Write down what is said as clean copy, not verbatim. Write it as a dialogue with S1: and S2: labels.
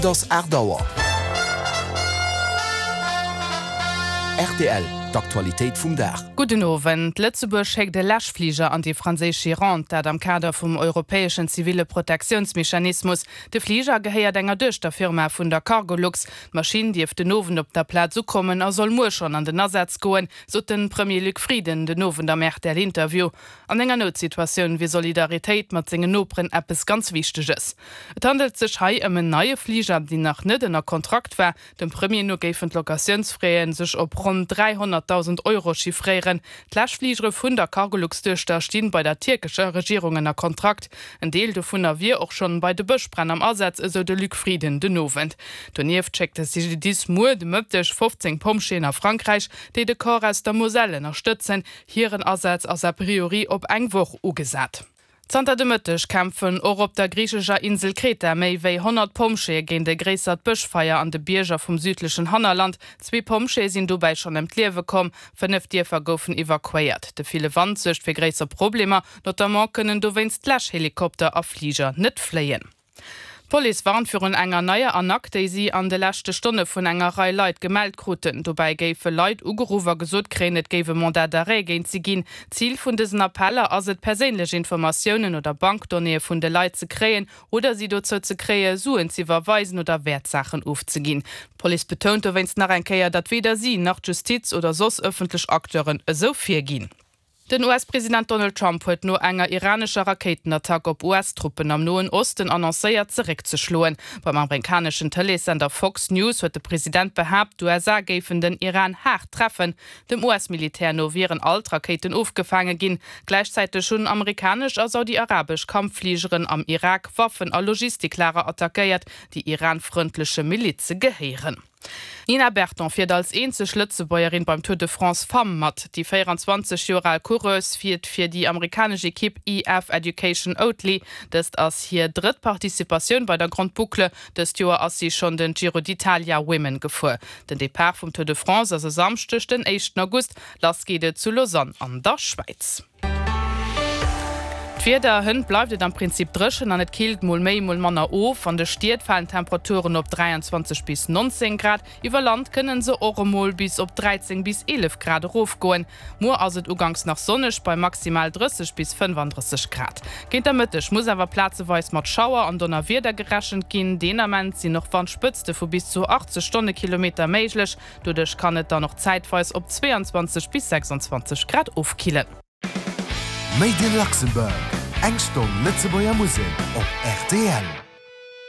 S1: Et ass 8 Auer. Rtl, D'Aktualitéit vum Dag.
S2: Gudden Owend. Lëtzebuerg schéckt e Läschfliger an déi franséisch Gironde, dat am Kader vum europäeschen ziville Protektiounsmechanismus. De Fliger gehéiert enger Duechterfirma vun der Cargolux. D'Maschinn dierft den Owend op der Plaz ukommen a soll muer schonn an den Asaz goen, sot de Premier Luc Frieden den Owend am RTL-Interview. An enger Noutsituatioun wier Solidaritéit mat sengen Noperen eppes ganz Wichteges. Et handelt sech hei ëm en neie Fliger, deen nach net ënner Kontrakt war. Dem Premier no géifen d'Locatiounsfraie sech op ronn 300.000 Euro chiffréieren. D'Läschfligere vun der Cargolux-Duechter stinn bei der tierkescher Regierung ënner Kontrakt. En Deel dovunner wier och schonn bei de Bëschbränn am Asaz, esou de Luc Frieden den Owend. Donieft schéckt de CGDIS muer de Mëtteg 15 Pompjeeën a Frankräich, déi de Corps aus der Moselle ënnerstëtzen. Hiren Asaz ass a priori op eng Woch ugesat. Zanter de Mëtteg kämpfen och op der griichescher Insel Kreta méi wéi 100 Pompjeeë géint e gréissert Bëschfeier an de Bierger vum südlechen Hannerland. Zwee Pompjeeë sinn dobäi schonn ëm d'Liewe komm, 5 Dierfer goufen evakuéiert. De ville Wand suergt fir gréisser Problemer, notamment kënnen dowéinst Läschhelikopter a Fliger net fléien. D'Police warnt virun enger neier Arnaque, déi si an de leschte Stonne vun enger Rei Leit gemellt kruten. Dobäi géife Leit ugeruff a gesot kréien, et géif e Mandat d'arrêt géint si ginn. Zil vun dësen Appeller ass et, perséinlech Informatiounen oder Bankdonnéeë vun de Leit ze kréien oder si dozou ze kréie Suen z'iwwerweisen oder Wäertsaachen ofzeginn. D'Police betount dowéinst nach eng Kéier, datt weder si nach d'Justiz oder soss ëffentlech Acteuren esou virginn. Den US-President Donald Trump huet no enger iranescher Rakéitenattack op US-Truppen am Noen Osten annoncéiert, zeréckzeschloen. Beim amerikaneschen Tëleessender Fox News huet de President behaapt, d'USA géifen den Iran haart treffen. Dem US-Militär no wieren all d'Rakéiten ofgefaange ginn. Gläichzäiteg hunn amerikanesch a saudi-arabesch Kampffligeren am Irak Waffen a Logistiklager attackéiert, déi iran-frëndleche Milize gehéieren. D'Nina Berton fiert als eenzeg Lëtzebuergerin beim Tour de France Femmes mat. Déi 24 Joer al Coureuse fiert fir déi amerikanesch Ekipp EF Education Oatly. Dëst ass hir drëtt Participatioun bei der Grande Boucle. Dëst Joer ass si schonn den Giro d'Italia Women gefuer. Den Depart vum Tour de France ass e Samschdeg, den éischten August. Lass geet et zu Lausanne an der Schwäiz. D'Wieder, Hënt bleift et am Prinzip dréchen an et killt mol méi, mol manner of. An de Stied falen d'Temperaturen op 23 bis 19 Grad, iwwer Land kënne se och emol bis op 13 bis 11 Grad erofgoen. Muer ass et uganks nach sonneg bei maximal 30 bis 35 Grad. Géint der Mëtteg muss awer plazeweis mat Schauer an Donnerwieder gerechent ginn. Deen Ament sinn och Wandspëtzte vu bis zu 80 Stonnekilometer méiglech. Doduerch kann et dann och zäitweis op 22 bis 26 Grad ofkillen.
S1: Made in Luxembourg, eng Stonn Lëtzebuerger Musek op rtl.